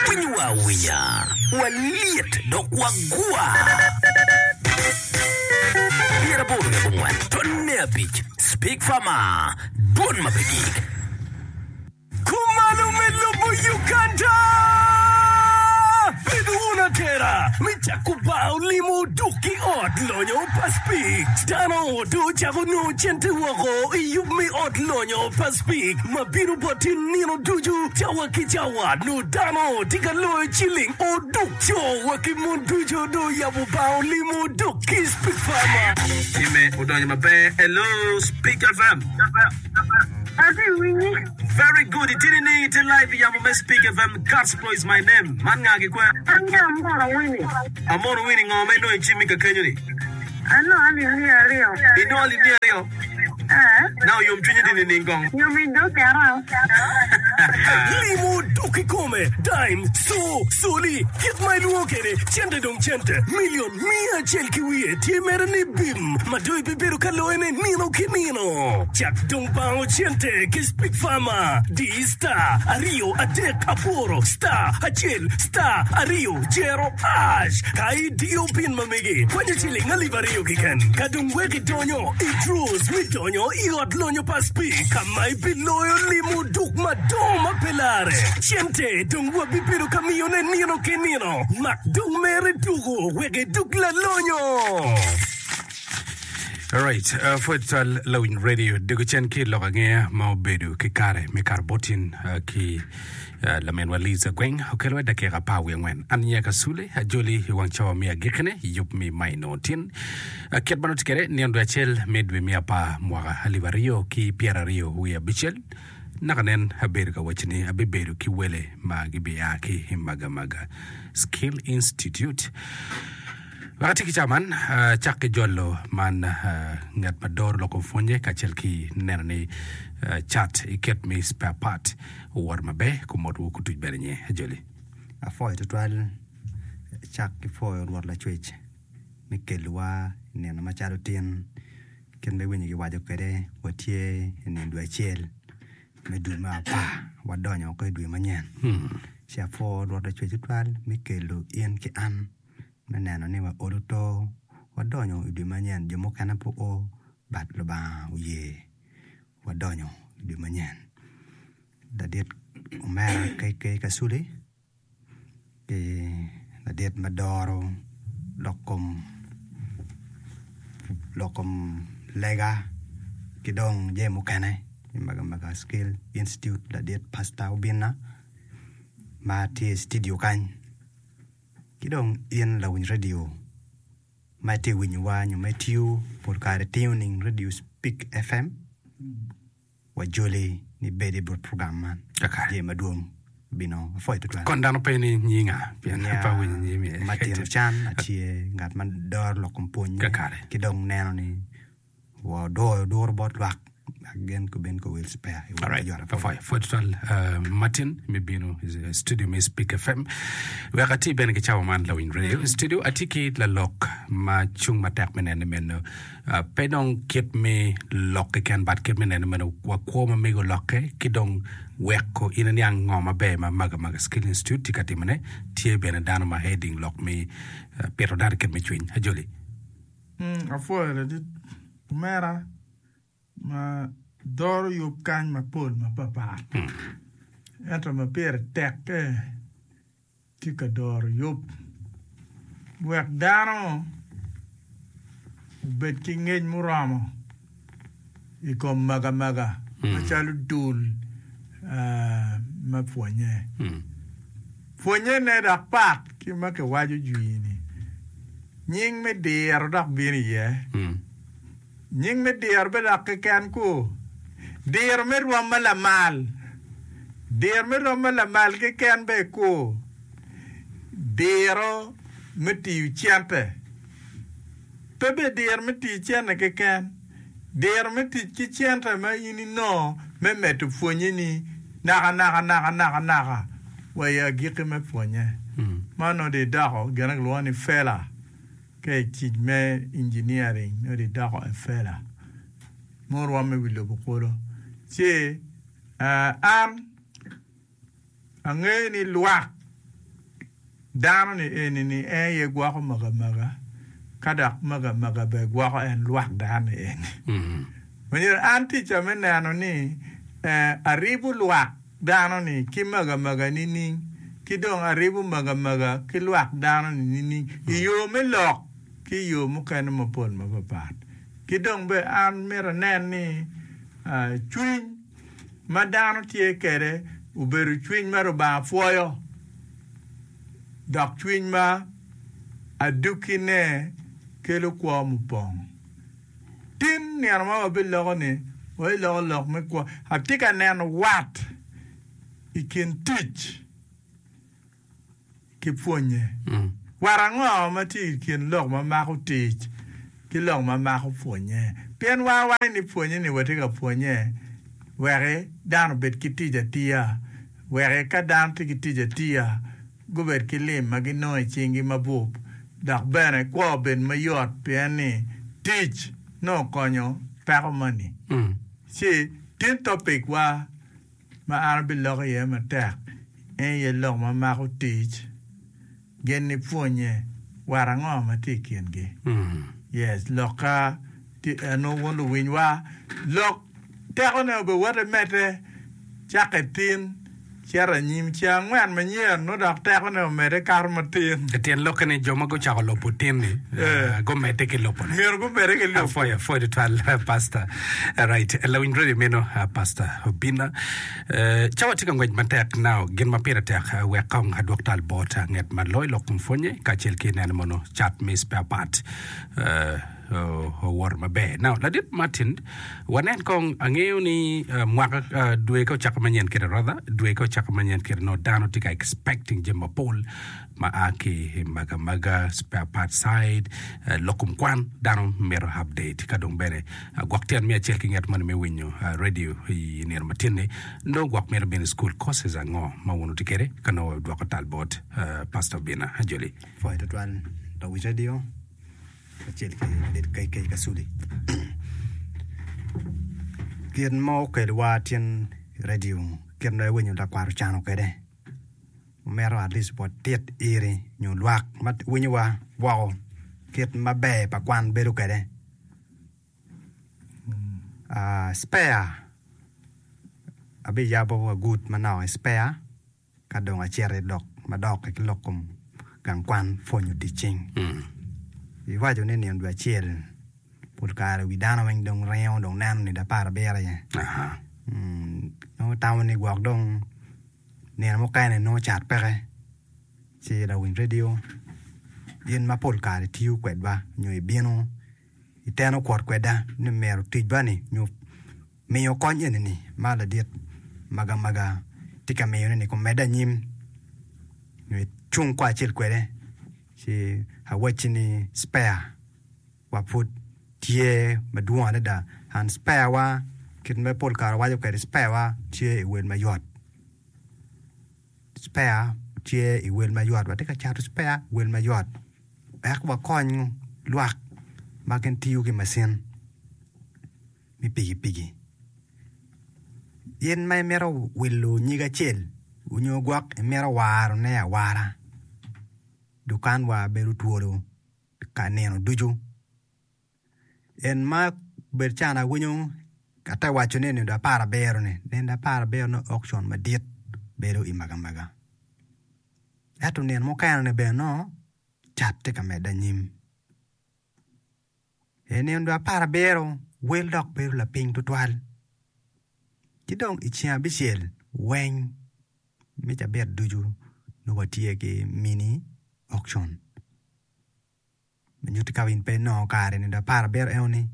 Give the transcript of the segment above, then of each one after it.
Winyowa awinya, walyet dok wagwa. 84 tonne abic Speak Farmer, Dwon ma pe gik. Kumalo me lobo Uganda! Bedo wun atera me cako bar olimo duk ki ot lonyo pa Spik. Dano dong ocako nongo cente woko i yub me ot lonyo pa Spik ma bino bot in nino ducu cawa ki cawa. Nongo dano tye ka loyo ciling oduk. Co wa ki mon ducu dong oyabo bar olimo duk ki Spik Farmer. Time odonyo maber. Hello Spik FM. Atye winyi. Very good itye nining itye live i yamo me speak FM Gospel is my name man nga ki kwe? An ki Amono Winnie. Amono Winnie ngo ma inongo i cimmi ka kenyo ni? Anongo alip miya aryo. Inongo alip miya aryo? Ee. Na oyom cwinyi di nining kong? Yom i dog kera. Limo dok kikome, dime, co, coli, kit ma ilwongo kwede, cente dong cente, milion miya acel ki wiye tye mere ni bim ma dong ibibedo ka loyone nino ki nino. Cak dong bango cente ki Speak Farmer, di star aryo adek aboro star acel star aryo jero ash ka idiyo pin ma megi kwanyo ciling alip aryo keken ka dong wek idonyo i draws me donyo i ot lonyo pa Speak ka ma ibiloyo limo duk madongo ma pe larre. Cente dong wabibedo ka miyone nino ki nino. Mak dong mere tuko wek idug lalonyo. Alright, uh, pwod twal lawiny radio dego cen ki lok angeya ma obedo ki kare me kato botin uh, ki uh, laminwa Liza Gweng okelo wa dakika apar wiye angwen. An nyinga Kasule ajoli i wang cawa me agikkine yub mi maino tin. Uh, kit ma nongo tye kwede nino dwe acel me dwe me apar mwaka alip aryo ki pyeraryo wiye abicel Naka nen abedo ka waco ni abibedo ki wele ma gibia ki i Magamaga Skill Institute. Wek ati ki ca man, acak ki jolo man ngat ma doro lok kom pwonye kacel ki neno ni cat i kit me spare part owoto maber kun motwu kutuc bene nye. Ajoli. Apwoyo tutwal cak ki pwoyo Rwot Lacwec me kelowa i nino macalo tin. Kit ma iwinyo kiwaco kwede, watye i nino dwe acel me dwe me apar, wadonyo woko i dwe manyen. Ci apwo Rwot Lacwec tutwal me kelo in ki an me neno ni waolo to wadonyo i dwe manyen. Jo mukene pe oo but Lubanga oye wadonyo i dwe manyen. Ladit omera KK Kasule. ki ladit ma doro lok kom lok kom lega ki dong jami mukene i Magamaga Skill Institute ladit Pastor Obinna ma tye i studio kany ki dong in lawiny radio ma itye ka winyowa nyo ma itiyo pol kare itingo ning radio Speak FM. Wajoli ni bed i but program man. Kakare. Jami madwong bino. Apwoyo tutwal. Kon dano pe ni nyinga pien Nya pe awinyo nyimi. Martin Ocan atye ngat ma doro lok kom pwonye Kakare. ki dong neno ni wadoyo duro bot lwak wek gin gubin guwil spare i wot Alright, ki jot apwoyo. apwoyo. Pwoyo tutwal uh, Martin me bino i studio me Speak FM. Wek ati bene ki cawa man lawiny radio. I studio atye ki lalok ma cung matek me neno ni meno Pe dong kit me lok keken, but kit me neno meno wa kwo ma mego olokke ki dong weko in iniang ngo maber ma Magamaga Skill Institute tye ka timone. Tye bene dano ma heading lok me pito dano i kit me cwiny. Ajoli. Apwoyo ladit omera ma doro yub kany mapol mapapat ento ma pire tekke tye ka doro yub wek dano obed ki ngec muromo i kom magamaga macalo dul me pwonye. Pwonyene dok pat ki ma kiwaco jwi-ni. Nying me diro dok bino iye. Nying me diro bene dok keken ku, diro me rwom ma lamal, diro me rwom ma lamal keken bene ku, diro me tiyo cente, pe bene diro me tiyo cente keken, diro me tic ki cente ma in inongo me medo pwonyeni nakanaka nakanaka wa i agikki me pwonye. Man nongo dong idoko gin ma kilwongo ni fela. Ka i tic me engineering nongo dong idoko a fella mo rwomme i wi lobo kulu. Ci an angeyo ni lwak. Dano-ni eni-ni en aye gwoko magamaka, ka dok magamaka bene gwoko en lwak dano-ni eni. Myero an ticca me neno ni aribo lwak dano-ni ki magamaka nining, ki dong aribo magamaka ki lwak dano-ni nining i yo me lok ki i yo mukene mapol mapapat. Ki dong bene an myero anen ni cwiny ma dano tye kwede obedo cwiny ma Lubanga pwoyo. Dok cwiny ma adukkine kelo kwo mupong. Tin nino ma wabiloko-ni, wabiloko lok me kwo. Atye ka neno wat i kin tic ki pwonnye. Wat ango ma tye i kin lok ma mako tic ki lok ma mako pwonnye? Pien wan wawaco ni pwonnye-ni watye ka pwonnye wek dano obed ki tic atiya. Wek ka dano tye ki tic atiya, gubed ki lim ma ginongo i cinggi mabup, dok bene kwo obed mayot pien ni tic nongo konyo peko moni. Ci tin topic wa ma an abiloko iye matek en aye lok ma mako tic gin ni pwonye wat ango ma tye i kingi. Yes, lokka tye eno wun luwinywa, lok tekone obiwoto emedde cakke tin cito anyim ceng angwen manyen nongo dok tekone omedde kato matin. Tyen lokke ni jo ma gucako lubo tin-ni gumedde ki lubone. Myero gumedde ki lubo. Apwoyo, apwoyo tutwal Pastor. Right, lawiny radio meno Pastor Obinna. Cawa tye ka ngwec matek now gin ma pire tek wek kong adwok tal bot nget ma loyo lok kom pwonye kacel ki neno mono cat me spare part owoto maber. Now ladit Martin wanen kong angeyo ni mwaka dwe ka ocako manyen kede rather dwe ka ocako manyen kede nongo dano tye ka expecting jami mapol ma a ki i Magamaga spare part side, lok kom kwan dano mito update ka dong bene gwok tyen me acel ki nget moni me winyo radio i nino matin-ni nongo gwok mito bino i school courses ango ma wun wutye kwede ka nongo wabidwoko tal bot Pastor Obinna Ajoli. Pwoyo tutwal lawic radio kacel ki ladit KK Kasuli. Gin ma okelowa tin i radio kit ma iwinyo lakwat ocano kwede. Omito at least watit iri nyo lwak ma winyowa woko kit maber pa kwan bedo kwede. Spare abiyabo agut manok i spare ka dong acito i lok madok ki lok kom gang kwan pwonyo tic cing. Iwaco ni nino dwe acel pol kare wi dano weng dong ringo dong neno nino aparabiro aye nongo tamo ni gwok dong Nino mukene nongo cat peke ci lawiny redio gin ma pol kare tiyo kwedwa nyo ibino iteno kwot kweda ni myero ticwa ni nyo miyo kony eni ni ma ladit magamaga tye ka miyone ni omedde anyim nyo icung kacel kwede ci awacci ni spare wa pud tye madwong adada and spare wa kit ma pol kare wawaco kwede spare wa tye i wel mayot spare tye i wel mayot watye ka cato spare i wel mayot wek wakony lwak ma gin tiyo ki macin me pikipiki in ma imito wilo nyig acel nyo gwok imito warone awara dukan wa bedo twolo. ka nino ducu. En ma obedo can awinyo ate waco ni nino aparabiro ni, nino aparabiro nongo auction madit bedo i Magamaga. Ento nino mukene ni bene nongo cat tye ka medde anyim. I nino aparabiro wel dok bedo lapiny tutwal. Ki dong i ceng abicel weng me cabit ducu nongo watye ki mini auction. Ma nyutti ka in pe inongo kare nino aparabiro enoni,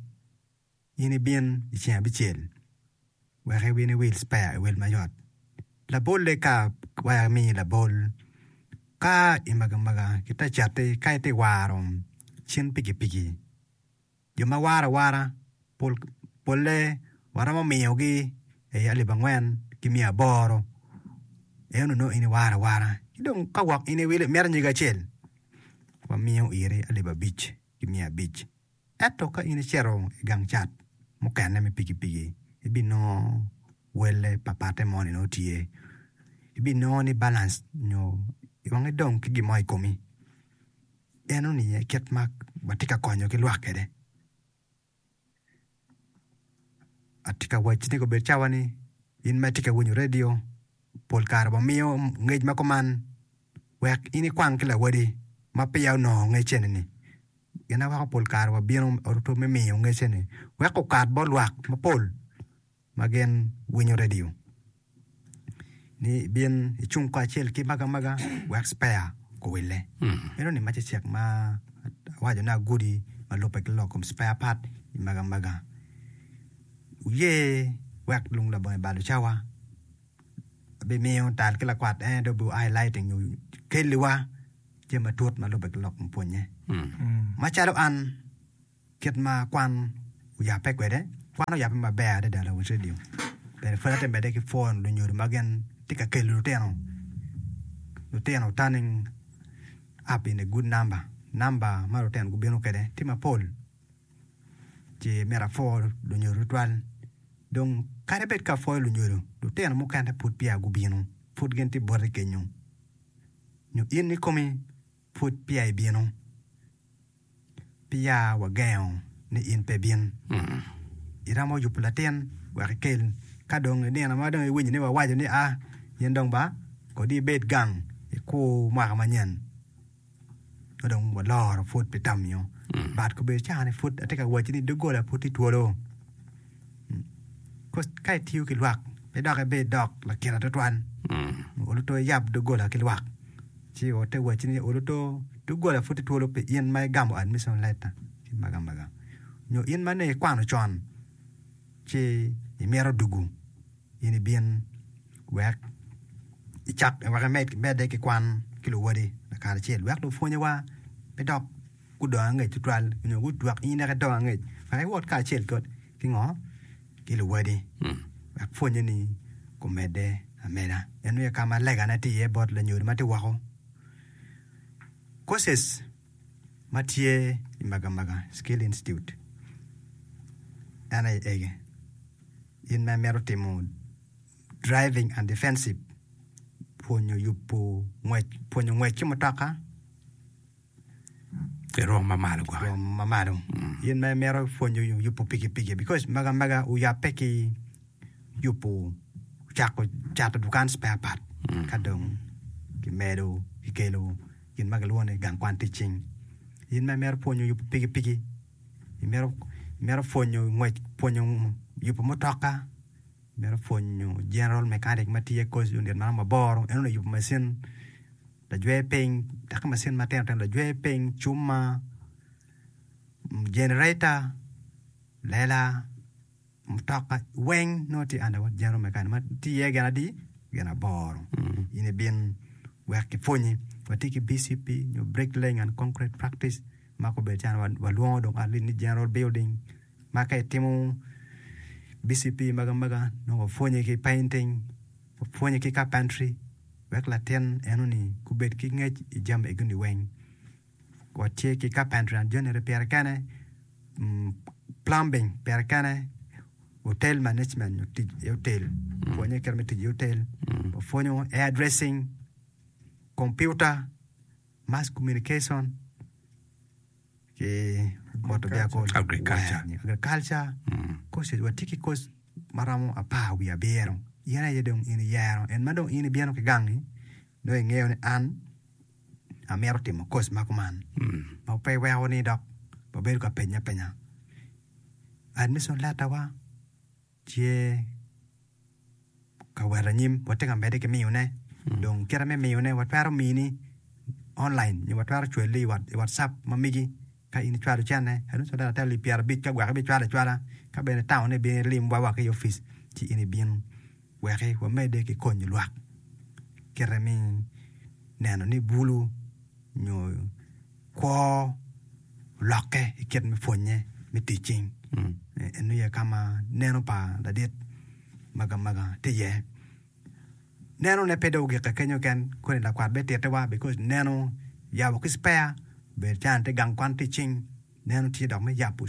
in ibin i ceng abicel wek ibin iwil spare i wel mayot. Labolle ka wek amiyi labol, ka i magamaga ki te cati ka itye ka waro cin pikipiki, Jo ma waro awara polle waromo miyogi alip angwen ki miya aboro eno nongo in iwaro awara ki dong ka gwok in iwilo imito nyige acel wamiyo iri alip abic ki miya abic ento ka in icito i gang cat mukene me pikipiki ibinongo welle papatte moni nongo tye ibinongo ni balance nyo. Wang idong ki gin mo i komi. Enoni aye kit ma watye ka konyo ki lwak kwede. Atye ka wacci ni obed cawa ni in ma itye ka winyo redio pol kare wamiyo ngec ma kuman wek in ikwang ki lawadi ma peya onongo ngec eni-ni. Gin aye weko pol kare wabino me miyo ngec eni wek okat bot lwak mapol. ma gin winyo redio ni ibin icung kacel ki magamaga wek spare guwille. Meno ni macecek ma awaco ni agudi ma lubbe ki lok kom spare part i magamaga. Wuye wek lung labongo balo cawa abimiyo tal ki lakwat en dong obi highlighting nyo kelliwa jami matut ma lubbe ki lok kom pwonye. Macalo an Kit ma kwan oyabbe kwede, Kwan oyabbe maber adada lawil redio. Bene pud atye medde ki pwoyo lunyodo ma gin tye ka kelo lutino, lutino turning up in a good number, namba ma lutino gubino kwede tye mapol ci myero apwo lunyodo tutwal. Dong kadi bed ka apwoyo lunyodo, lutino mukene pud peya gubino, pud gin tye boti kenyo nyo in ikomi pud peya ibino. Peya wagengo ni in pe ibin, iromo yubo latin wek ikel. Ka dong i nino ma dong iwinyo ni wawaco ni a, in dong ba kodi ibed gang ikur mwaka manyen, ka dong waloro pud pi tamio. But kobedo caa-ni pud atye ka wacci ni doggola pud tye twolo. Ka itiyo ki lwak pe dok ibed dok lakita twatwal. Olo to iyab doggola ki lwak. Ci ote wacci ni olo to doggola pud tye twolo pi in ma igamo admission letter ki magamaga nyo in ma nongo ikwano con ci imito dugu in ibin wek icak wek imedde ki kwan ki luwodi lakaracel wek lupwonyewa pe dok gudong angec tutwal nyo gudwok in dok idong angec wek iwot kacel ki ngo ki luwadi wek pwonye ni gumedde ameda. En aye ka ma legane tye iye bot lanyodo ma tye woko. Courses ma tye i Magamaga Skill Institute en aye egi, in ma imito timo driving and defensive, pwonyo yubo ngwec, pwonyo ngwec ki mutoka, I rwom ma malo gwok. Rwom ma malo. In ma imito pwonyo yubo pikipiki because mega mega oyabbe ki yubo cako cato dukan spare part ka dong kimedo kikelo gin ma kilwongo ni gang kwan tic cing. In ma imito pwonyo yubo pikipiki imito imito pwonyo ngwec pwonyo yubo mutoka imito pwonyo general mechanic ma tiyo i course unit ma romo aboro eno ni yubo macin lajwer piny dok ki macin matino tino lajwer piny, cuma, jenereta, lela, mutoka weng nongo tye under what general mechanic ma tye iye gin adi? Gin aboro in ibin wek kipwonyi watye ki BCP nyo brick laying and concrete practice ma kobedo calo walwongo dong at least ni general building ma ka itimo BCP magi amaga nongo wapwonyi ki painting wapwonyi ki carpentry wek latin enoni gubed ki ngec i jami egoni weng. Watye ki carpentry and joinery pire kene, plumbing pire kene, hotel management nyo tic i hotel, pwonye kit me tic i hotel, wapwonyo hair dressing, computer, mass communication ki motor vehicle, Agriculture. agriculture, courses watye ki course ma romo apar wiye abiro in aye dong in iyero en ma dong in ibino ki gangi nongo ingeyo ni an amito timo course ma kuman ma pe weko ni dok wabedo ka penye apenya admission letter wa tye ka wot anyim watye ka medde ki miyone dong kite me miyone watwero mini online nyo watwero cwali i whatsapp ma megi Ka in icwalo cente, adong calo ata alip pyerabic ka gwok ibicwalo acwala, ka bene itamo ni ibin ilimwa wa ki i opic, ci in ibin wek wamedde ki konyo lwak kite me neno ni bulu nyo kwo olokke i kit me pwonye me tic cing. Eno aye ka ma neno pa ladit magamaga tye iye. Neno ne pe dong ogike kenyo keken koni lakwat bene tite wa because neno yabo ki spare obedo calo tye gang kwan tye icing neno tye dok me yabo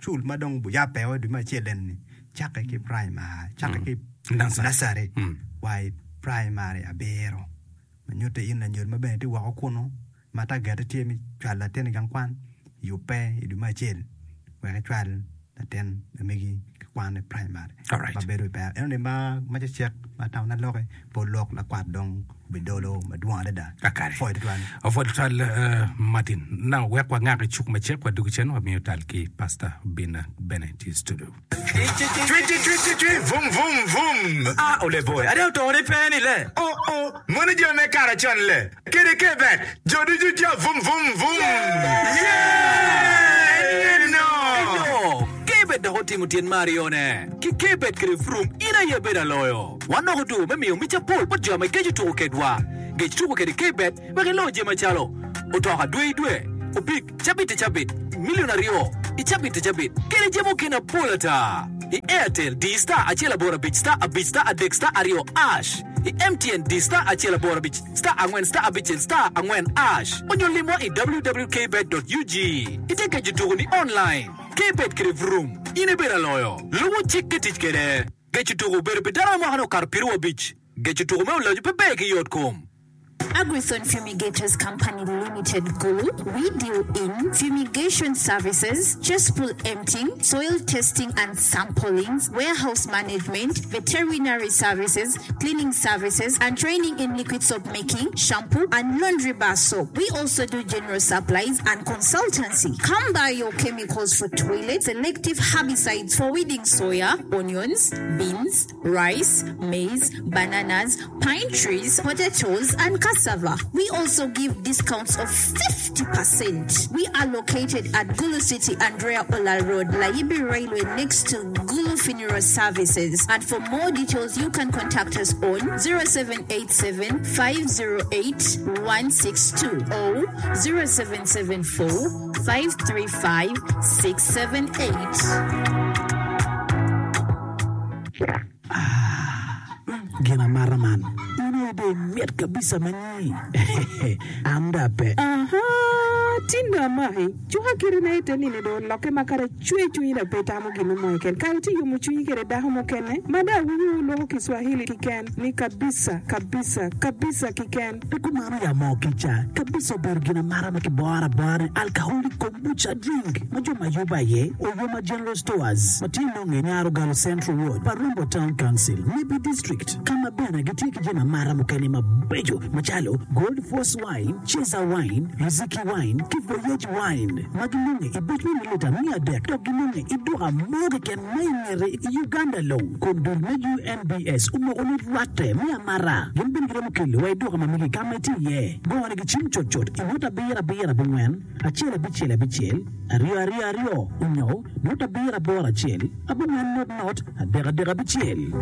cul ma dong oyabbe o dwe me acel eni ni cakke ki primary cakke ki nursery wa i primary abiro. Ma nyutte in lanyodo ma bene itye woko kunu ma tagette tye me cwalo latin i gang kwan, yubbe i dwe me acel wek icwal latin ma megi ki kwan i primary ma bedo i pera. Enoni ma cecek ma atamo ni aloki pol lok lakwat dong obidolo madwong adada. Apwoyo tutwal. Apwoyo tutwal Martin. Now wek wangak i cuk macek wadwogi cen wamiyo tal ki Pastor Obinna bene tye i studio. Cwi cwi cwi cwi cwi vum vum vum. Ah ole boy, ade otore pe ni le. Oh oh, mono jo me kara con le. Kede ke bet, jo ducu jo vum vum vum. Yeah! En no. Eyo, Kebet dok otimo tyen me aryone. Ki Kebet kede Vroom, in aye ibedo aloyo. Wanoko dwogo me miyo mic apol bot jo ma igeco tuko kedwa. Gec tuko kede Kebet wek ilo jami macalo, otoka dwe i dwe, opik, Cabit i cabit, milion aryo i cabit i cabit, kede jami mukene apol ata. I Airtel, di star acel aboro abic star abic star adek star aryo ash. I MTN, di star acel aboro abic star angwen star abicel star angwen ash. Onyo limwa i www.kbet.ug. Ite keco tuku ni online. Kbet kede vroom, in ibedo aloyo. Lubo cik ki tic kede. Geco tuku obedo pi dano ma mwakane okato piru abic. Geco tuku me olacu pe ber ki yot kom. Agrithon Fumigators Company Limited Gulu, we deal in fumigation services, cesspool emptying, soil testing and sampling, warehouse management, veterinary services, cleaning services and training in liquid soap making, shampoo and laundry bar soap. We also do general supplies and consultancy. Come buy your chemicals for toilets, selective herbicides for weeding soya, onions, beans, rice, maize, bananas, pine trees, potatoes and cassava. We also give discounts of 50 percent. We are located at Gulu City, Andrea Ola Road, Layibi Railway next to Gulu Funeral Services and for more details you can contact us on 0787 508 162 or 0774 535 678. Ah, gin amata man. In aye dong imit kabisa ma nyi. An dong ape. Aha, tin dong amaki. Cuka kiti na ite nini dong olokke ma kadi acwe cwinyi dong pe itamo gin mo keken. Kare tye yomo cwinyi kede dako mukene ma dong awinyo wu loko Kiswahili kiken ni kabisa, kabisa, kabisa kiken. Pe kumano ya moo kica kabisa obedo gin amata ma kiboro abora ni alcoholic kombucha drink ma jo ma yubo aye Oyoma General Stores ma tye nonge i Nyarogalo Central Ward, Parumbo Town Council, Nebbi District ka ma bene gitye ki jami amata mukene mabeco macalo Gold Force Wine, Cheza Wine, Riziki Wine ki Voyage Wine ma ginonge i buc me mililita 300 dok ginonge i duka mo keken ma i ngete i Uganda long kun dul me UNBS omoko ni rwatte me amata gin bene giromo kelo wa i duka ma megi ka ma itye iye. Gone gi cim cutcut i nota abiro abiro abongwen acel abicel abicel aryo aryo aryo onyo nota abiro aboro acel abongwen not not adek adek abicel.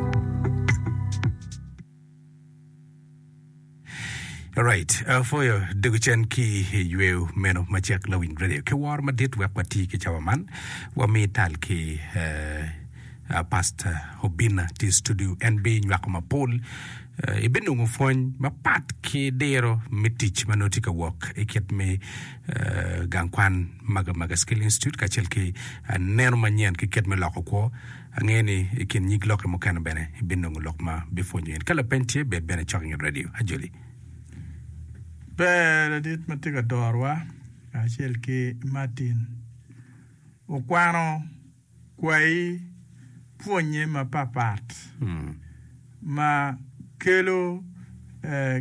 Alright, apwoyo dego cen ki i yweyo meno macek lawiny radio ki woro madit wek wati ki cawa man wami tal ki eh, uh, Pastor Obinna tye i studio en binywako mapol eh, ibinongo pwony mapat ki diro me tic ma nongo tye ka wok i kit me eh, gang kwan Maga Maga Skill Institute kacel ki eh, neno manyen ki kit me loko kwo Angeyo ni i kin nyig lokke mukene bene ibinongo lok ma bipwonyo in. Ka lapeny tye, bed bene cok i nget redio. Ajoli. Ber ladit ma tye ka dorowa kacel ki Martin okwano kwayi pwonnye mapatpat ma kelo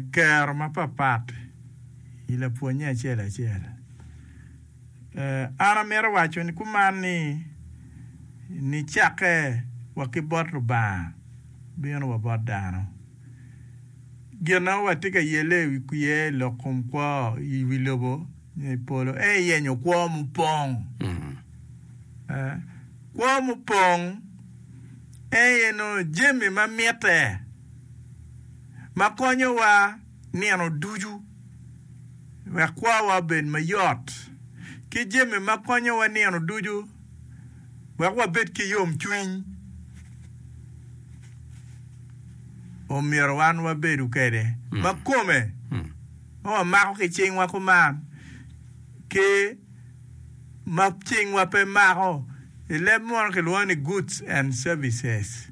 kero mapatpat i lapwonnye acel acel. An amito waco ni kuman ni, nicakke wa ki bot Lubanga bino wa bot dano. Gin ma watye ka yelle iye i lok kom kwo i wi lobo nyo i polo en aye yenyo kwo mupong. Kwo mupong en aye nongo jami ma mitte ma konyowa nino ducu wek kwowa obed mayot ki jami ma konyowa nino ducu wek wabed ki yomcwiny omyero wan wabedu kwede ma kome ma wamako ki cingwa kuman ki ma cingwa pe mako i leb munu kilwongo ni goods and services.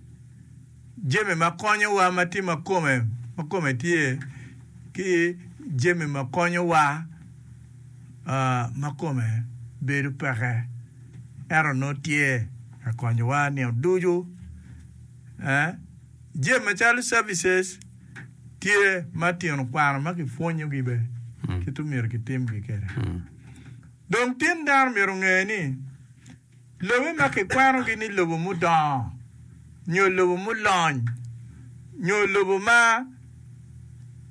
Jami ma konyowa ma tye ma kome ma kome tye. ki jami ma konyowa ma kome bedo peke ento nongo tye ka konyowa nino ducu. Jami macalo services tye ma tino kwano ma kipwonyogi bene kit omyero kitimgi kwede. Dong tin dano myero onge ni Lobe ma kikwanogi ni lobo mudongo nyo lobo mulony nyo lobo ma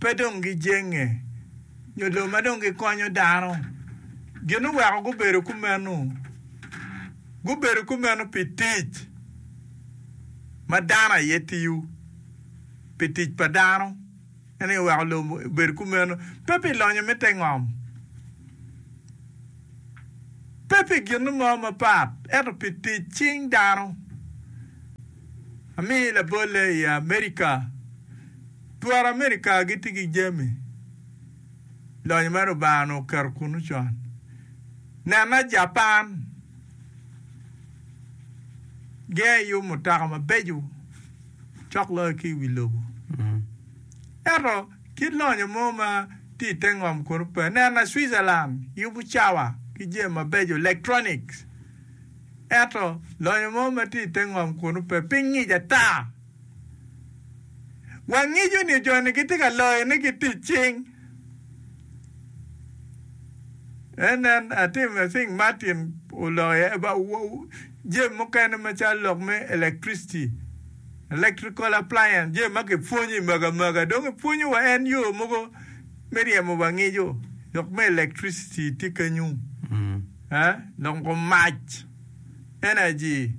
pe dong gijenge nyo lobo ma dong gikonyo dano, gin oweko gubedo kumeno? Gubedo kumeno pi tic ma dano aye tiyo, pi tic pa dano. En aye oweko lobo obedo kumeno, pe pi lonyo me te ngom, pe pi gin mo mapat, ento pi tic cing dano. Amiyi labolle i Amerika, twero Amerika gitye ki jami lonyo ma Lubanga onongo oketo kunnu con. Nena Japan, gin aye yubo mutoka mabeco. cok loyo ki i wi lobo. Ento, kit lonyo mo ma tye i te ngom kunu pe. Nena Switzerland yubo cawa ki jami mabeco, electronics. Ento, lonyo mo ma tye i te ngom kunu pe. Piny ngic ata. Wangico ni jo-ni gitye ka loyone ki tic cing. Nen, atim, I think Martin oloko iye about jami mukene macalo lok me electricity, electrical appliance, jami ma kipwonyo i magamaga. Dong ipwonyo wa en yo mogo me ryemo wa ngico, lok me electricity tye kenyu, eh, lok kom mac, energy.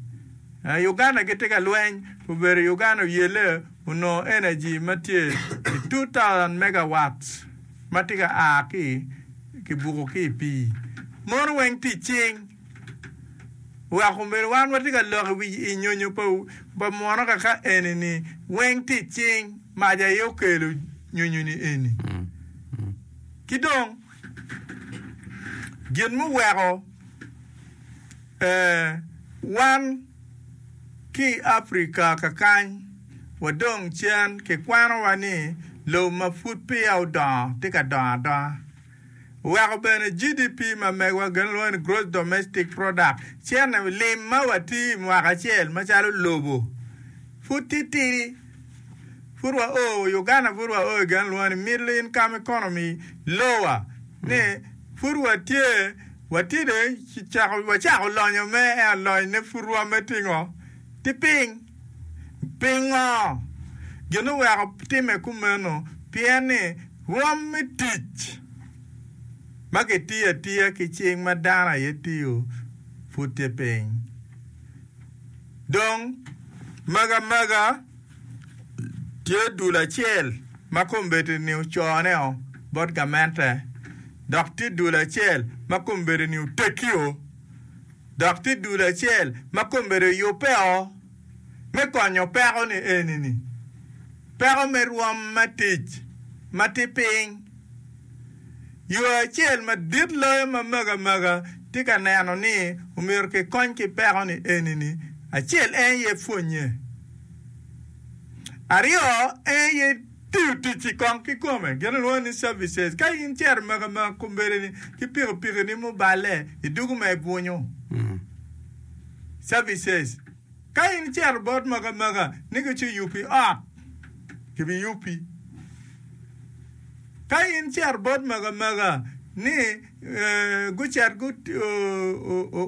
Eh, Uganda gitye ka lweny, obedo Uganda oyelle onongo energy ma tye i 2000 megawatts ma tye ka a ki kibuko ki i pii. Mono weng tic cing wek omyero wan watye ka lok i wi i nyonyo pa muno kaka eni ni weng tic cing mac aye okelo nyonyo ni eni. Ki dong gin muweko wan ki i Afrika kakany wadong cen kikwanowa ni lobo ma pud peya odongo tye ka dongo adonga. Weko bene GDP ma megwa gin lwongo ni Gross Domestic Product, cene lim ma watiyo i mwaka acel macalo lobo pud titidi. Pud wa o, Uganda pud wa o i gin lwongo ni Middle Income Economy, lower, ni pud watye, watye dong cako, wacako lonyo me ento lony ne pud rwomme tye ngo? Tye piny. Pingo? Gin oweko timme kumeno pien ni Rwom me tic ma kitiyo atiya ki cing ma dano aye tiyo pud tye piny. Dong, magi amaga tye dul acel ma kombeddi-ni ocone-o bot gamente, dok tye dul acel ma kombeddi-ni oteggi-o, dok tye dul acel ma kombeddi oyubbe-o. me konyo peko-ni eni-ni, peko me rwom me tic ma tye piny. Yo acel madit loyo ma mego amega tye ka neno ni omyero kikony ki peko-ni eni-ni, acel en aye pwonnye, aryo en aye tiyo tic-ci kong kikome, gin alwongo ni services. Ka in icito mego amega kombeddi-ni ki pikipikini muballe, idwogo ma ibwunyo. Services. Ka in icito bot magamaka ni giciyubbi ot, gibiyubbi. Ka in icito bot magamaka ni gucit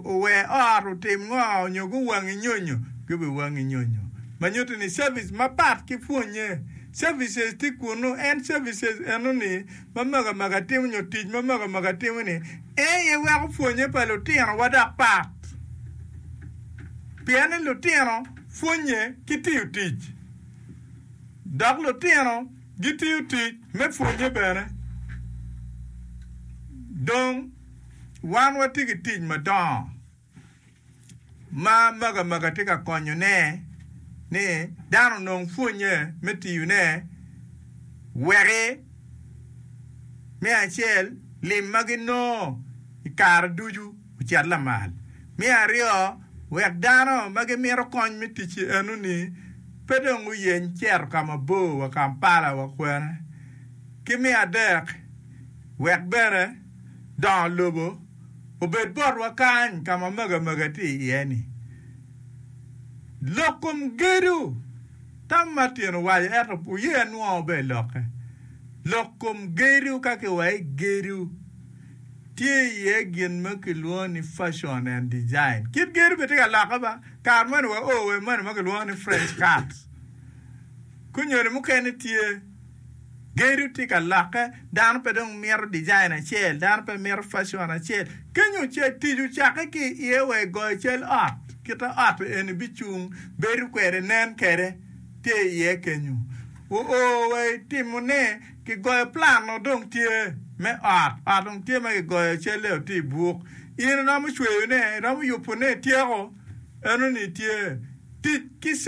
ower ot otim ngo nyo guwangi nyonyo, gibiwangi nyonyo. Ma nyuto ni service mapat ki pwonye. Services tye kunu, en services enoni ma magamaka timo nyo tic ma magamaka timo ni en aye weko pwonye pa lutinowa dok pat. Pien ni lutino pwonye ki tiyo tic, dok lutino gitiyo tic me pwonye bene. Dong wan watye ki tic madongo ma magamaka tye ka konyone ni dano onong pwonye me tiyone weki me acel lim ma ginongo i kare ducu ocit lamal. Me aryo, wek dano ma gimito kony me tic-ci enoni pe dong guyeny cito ka mabor wa Kampala wa kwene. Ki me adek, wek bene dongo lobo obed botwa kany ka ma magamaga tye iye-ni. Lok kom gedo, tam Martin owaco ento wuye anwongo bene lokke. Lok kom gedo ka kiwaco ni gedo tye iye gin ma kilwongo ni fashion and design. Kit gedo bene tye ka lokke ba, kare moni wao wa i moni ma kilwongo ni French cut. Kunyoni mukene tye. Gedo tye ka lokke, dano pe dong mito dijain acel, dano pe mito facion acel. Kenyo tic ocakke ki i iye wa i goyo cal ot, kit ma ot eni bicung, bedo kwede, nen kwede tye i iye kenyo. Oo wa i timone, kigoyo plan o dong tye me ot, ot dong tye ma kigoyo calle o tye i buk. In iromo cweyone, iromo yubone, ityeko, enoni tye tic ki.